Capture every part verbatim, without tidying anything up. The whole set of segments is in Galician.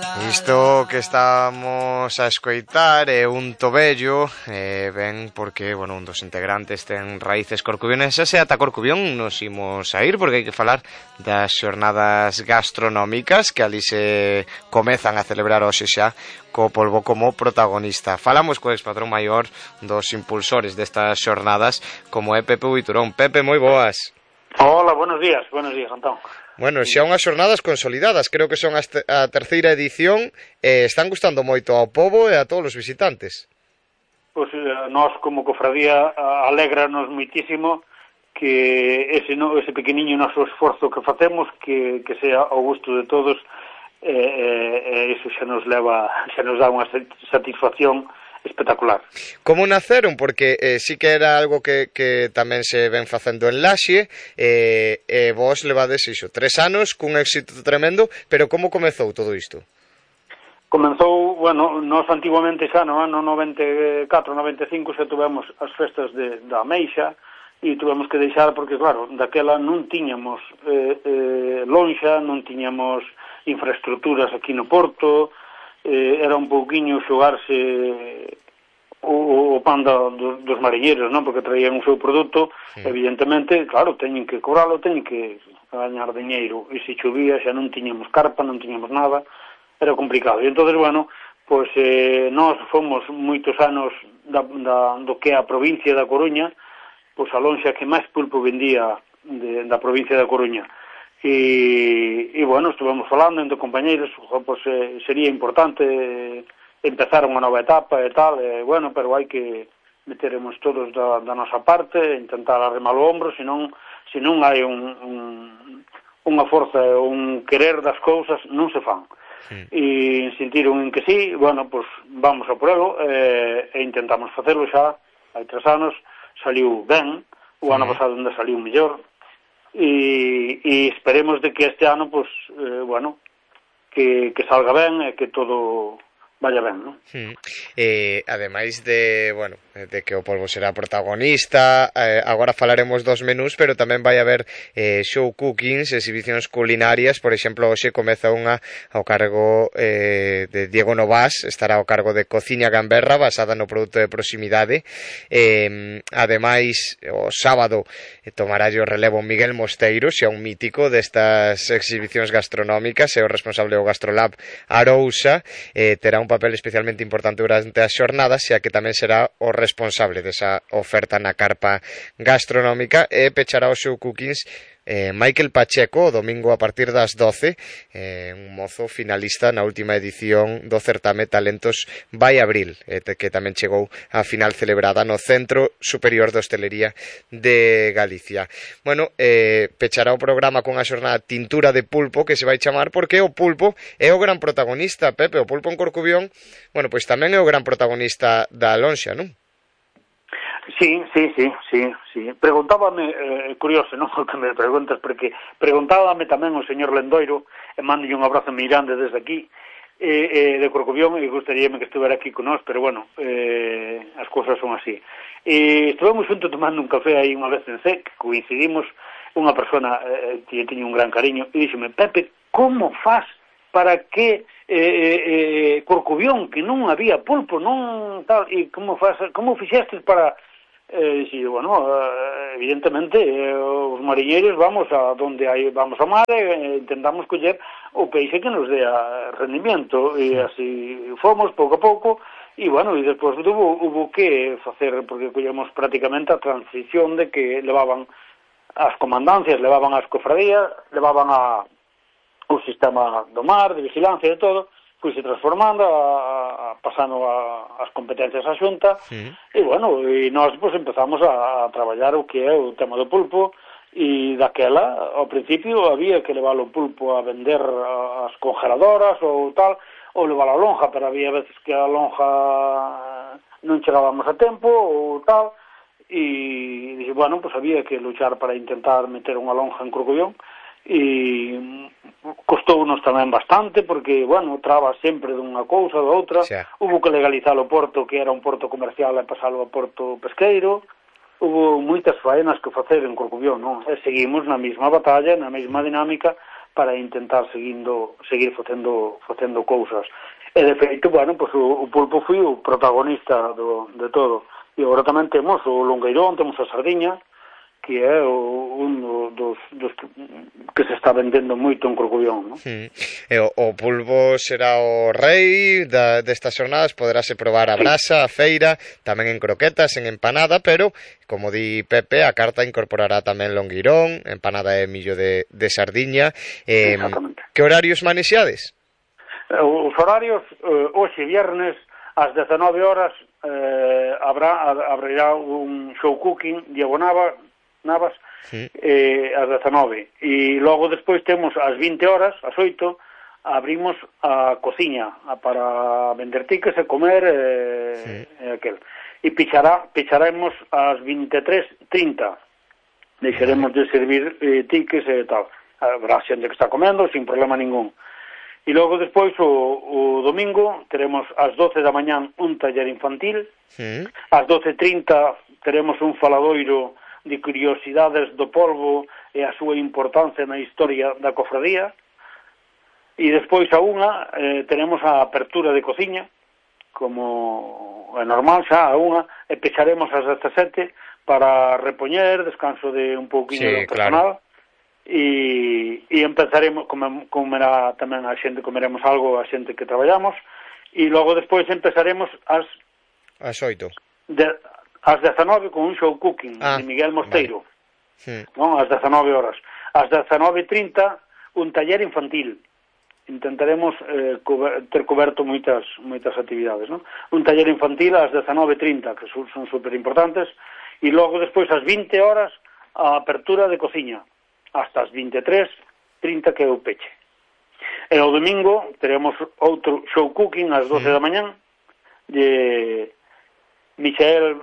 Isto que estamos a escoitar é un tobello, eh, ben porque, bueno, un dos integrantes ten raíces corcubionesas e ata Corcubión nos imos a ir porque hai que falar das xornadas gastronómicas que ali se comezan a celebrar hoxe xa co polvo como protagonista. Falamos co expatrón maior dos impulsores destas xornadas como é Pepe Buiturón. Pepe, moi boas. Hola, buenos días, buenos días, Antón. Bueno, xa unhas xornadas consolidadas, creo que son a terceira edición e están gustando moito ao pobo e a todos os visitantes. Pois nós como cofradía alégranos moitísimo que ese, no, ese pequeniño noso esforzo que facemos que, que sea ao gusto de todos e eh, eh, iso xa nos leva, xa nos dá unha satisfacción espectacular. Como naceron? Porque eh, sí que era algo que, que tamén se ven facendo en Laxe e eh, eh, vos levades iso, tres anos cun éxito tremendo, pero como comezou todo isto? Comenzou, bueno, nós antiguamente xa no ano noventa e catro, noventa e cinco xa tuvemos as festas de, da Ameixa e tuvemos que deixar porque, claro, daquela non tiñamos eh, eh, lonxa, non tiñamos infraestructuras aquí no Porto. Eh, era un pouquiño xogarse o, o pan da, dos, dos mariñeiros, non? Porque traían o seu produto, sí. Evidentemente, claro, teñen que cobralo, teñen que gañar diñeiro, e se chovía xa non tiñamos carpa, non tiñamos nada, era complicado. E entonces, bueno, pois eh, nós fomos moitos anos da, da, do que é a provincia da Coruña, pois a lonxa que máis pulpo vendía de, da provincia da Coruña. E, e bueno, estuvemos falando entre compañeiros, pues, eh, sería importante empezar unha nova etapa e tal, e bueno, pero hai que meteremos todos da, da nosa parte, intentar arrimar o ombro, senón, senón hai un, un, unha forza, un querer das cousas, non se fan. Sí. E sentiron en que sí, bueno, pues vamos a por elo, e, e intentamos facelo xa, hai tres anos, saliu ben, o ano sí. Pasado onde saliu mellor, e, e esperemos de que este ano, pues, eh, bueno, que, que salga ben e que todo vaya ben, non? Hmm. Eh, ademais de, bueno, de que o polvo será protagonista, eh, agora falaremos dos menús, pero tamén vai haber eh, show cookings, exhibicións culinarias. Por exemplo, hoxe comeza unha ao cargo eh, de Diego Novás, estará ao cargo de Cociña Gamberra, basada no produto de proximidade. Eh, ademais, o sábado eh, tomará o relevo Miguel Mosteiro, xa un mítico destas exhibicións gastronómicas, é o responsable do Gastrolab Arousa, eh, terá un papel especialmente importante durante as xornadas, xa que tamén será o responsable desa oferta na carpa gastronómica, e pechará o show cookings eh, Michael Pacheco o domingo a partir das doce, eh, un mozo finalista na última edición do certame Talentos Vai Abril, eh, que tamén chegou á final celebrada no Centro Superior de Hostelería de Galicia. Bueno, eh, pechará o programa con a xornada Tintura de Pulpo, que se vai chamar porque o pulpo é o gran protagonista, Pepe. O pulpo en Corcubión, bueno, pois tamén é o gran protagonista da lonxa, non? Sí, sí, sí, sí, sí. Preguntábame, eh, curioso, non, que me preguntas, porque preguntábame tamén o señor Lendoiro, e mándolle un abrazo moi grande desde aquí, eh, eh, de Corcubión, e gustaríame que estuvera aquí con nós, pero bueno, eh, as cousas son así. E estuvemos juntos tomando un café aí unha vez en C, que coincidimos, unha persona eh, que tiña un gran cariño, e díxome, Pepe, como faz para que eh, eh, Corcubión, que non había pulpo, non tal, e como faz, como fixestes para... Eh, sí, bueno, eh, evidentemente eh, os mariñeiros vamos a donde hai, vamos ao mar e eh, intentamos coller o peixe que nos dé rendimiento, e así fomos pouco a pouco, e bueno, e despois hubo, hubo que facer, porque collemos prácticamente a transición de que levaban as comandancias, levaban as cofradías, levaban a, o sistema do mar, de vigilancia e de todo, fuise transformando, a, a, pasando a, as competencias á Xunta, sí. E bueno, e nós pues, empezamos a, a traballar o que é o tema do pulpo, e daquela, ao principio, había que levar o pulpo a vender as congeladoras ou tal, ou levar a lonja, pero había veces que a lonja non chegábamos a tempo ou tal, e dixo, bueno, pues había que luchar para intentar meter unha lonja en Corcubión, e costounos tamén bastante porque, bueno, traba sempre dunha cousa ou da outra, sí. Hubo que legalizar o porto, que era un porto comercial, e pasalo a porto pesqueiro, hubo moitas faenas que facer en Corcubión, non? E seguimos na mesma batalla, na mesma dinámica, para intentar seguindo, seguir facendo, facendo cousas. E de feito, bueno, pues o, o Pulpo foi o protagonista do, de todo. E agora tamén temos o Longueirón, temos a Sardiña, que é o, un dos, dos que, que se está vendendo moito en Corcubión, non? Mm. E o, o Pulpo será o rei da, destas xornadas, poderase probar a brasa, a feira, tamén en croquetas, en empanada, pero, como di Pepe, a carta incorporará tamén longueirón, empanada de millo de, de Sardiña. Eh, Exactamente. Que horarios manexeades? Os horarios, eh, hoxe viernes, ás dezenove horas, eh, habrá, abrirá un show cooking, Diego Nava, Navas, sí. eh, ás dezenove. E logo despois temos ás vinte horas, ás oito, abrimos a cociña para vender tiques e comer eh, sí. e aquel. E pichará, picharemos ás vinte e tres trinta. Deixaremos de servir eh, tiques e tal. Habrá xente que está comendo sin problema ningún. E logo despois o, o domingo teremos ás doce da mañán un taller infantil. Sí. Ás doce e trinta teremos un faladoiro de curiosidades do polvo e a súa importancia na historia da cofradía. E despois a unha eh, tenemos a apertura de cociña, como é normal xa a unha, e pecharemos ás dezasete para repoñer, descanso de un pouquinho sí, do personal. Claro. E, e empezaremos, come, comerá tamén a xente, comeremos algo a xente que traballamos, e logo despois empezaremos ás ás oito. De, ás dezenove con un show cooking ah, de Miguel Mosteiro, vale. Sí. Non? Ás dezenove horas. Ás dezenove e trinta un taller infantil. Intentaremos eh, cober, ter coberto moitas moitas actividades, non? Un taller infantil ás dezenove e trinta, que son, son super importantes, e logo despois ás vinte horas a apertura de cociña, hasta as vinte e tres trinta que é o peche. E o domingo teremos outro show cooking ás doce sí. da mañán de Michael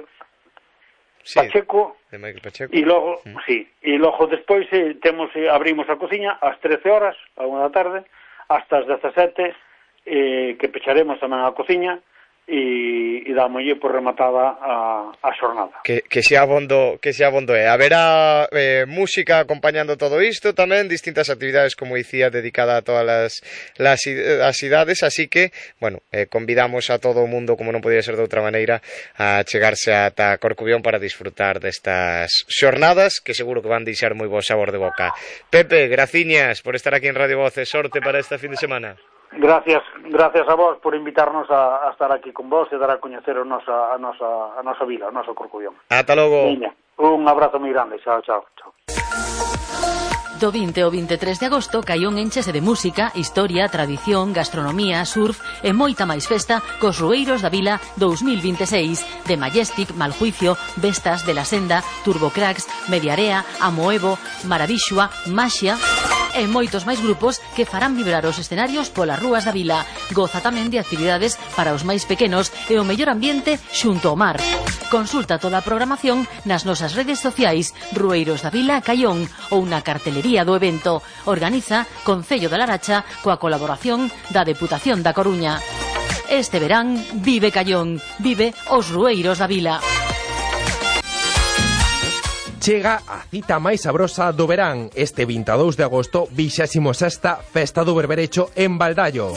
sí, Pacheco, de Michael Pacheco. E logo, mm. sí, e logo despois eh, temos eh, abrimos a cociña ás trece horas, a unha da tarde, hasta as dezasete, eh, que pecharemos tamén a cociña e, e dámolle por rematada a, a xornada. Que, que xa abondo, que xa abondo é. Haberá eh, música acompañando todo isto tamén, distintas actividades, como dicía, dedicada a todas las, las, as idades, así que, bueno, eh, convidamos a todo o mundo, como non podía ser de outra maneira, a chegarse ata Corcubión para disfrutar destas xornadas, que seguro que van deixar moi bo sabor de boca. Pepe, graciñas por estar aquí en Radio Voces, sorte para esta fin de semana. Gracias, gracias a vos por invitarnos a, a estar aquí con vos e dar a coñecer a nosa, a nosa, a nosa vila, o noso Corcubión. Ata logo. Veña, un abrazo moi grande, chao, chao, chao. Do vinte ao vinte e tres de agosto, Caión enchese de música, historia, tradición, gastronomía, surf e moita máis festa cos Rueiros da Vila dous mil vinte e seis de Majestic, Maljuicio, Vestas, De la Senda, Turbocracks, Mediarea, Amoevo, Maravixua, Maxia e moitos máis grupos que farán vibrar os escenarios polas rúas da vila. Goza tamén de actividades para os máis pequenos e o mellor ambiente xunto ao mar. Consulta toda a programación nas nosas redes sociais Rueiros da Vila Caión ou na cartelería do evento. Organiza Concello da Laracha coa colaboración da Deputación da Coruña. Este verán vive Caión, vive os Rueiros da Vila. Chega a cita máis sabrosa do verán. Este vinte e dous de agosto, vixésimo sexta Festa do Berberecho en Baldallo.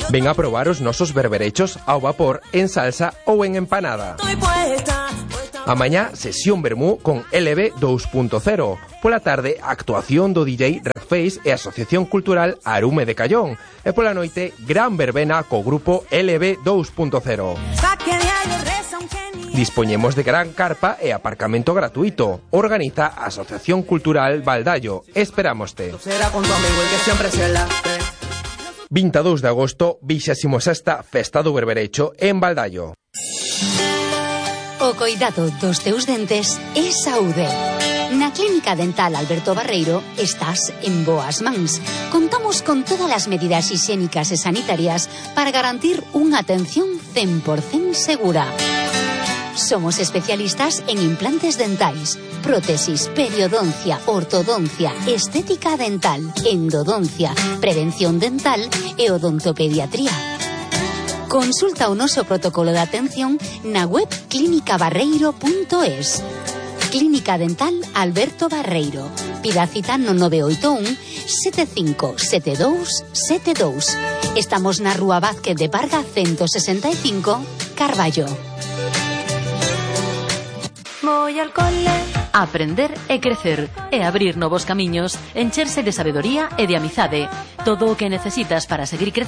Ven a probar os nosos berberechos ao vapor, en salsa ou en empanada. Amañá, sesión vermú con L B dos punto cero. Pola tarde, actuación do D J Redface e Asociación Cultural Arume de Caión. E pola noite, gran verbena co grupo L B dos punto cero. Dispoñemos de gran carpa e aparcamento gratuito. Organiza a Asociación Cultural Baldallo. Esperámoste. vinte e dous de agosto, vixésimo sexta Festa do Berberecho en Baldallo. O coidado dos teus dentes é saúde. Na Clínica Dental Alberto Barreiro estás en boas mans. Contamos con todas as medidas higiénicas e sanitarias para garantir unha atención cen por cento segura. Somos especialistas en implantes dentais, prótesis, periodoncia, ortodoncia, estética dental, endodoncia, prevención dental e odontopediatría. Consulta o noso protocolo de atención na web clínica barreiro punto es. Clínica Dental Alberto Barreiro. Pida cita no nove oito un sete cinco sete dous sete dous. Estamos na Rúa Vázquez de Parga ciento sesenta e cinco, Carballo. Voy al cole. Aprender e crecer e abrir novos camiños, encherse de sabedoría e de amizade. Todo o que necesitas para seguir crecendo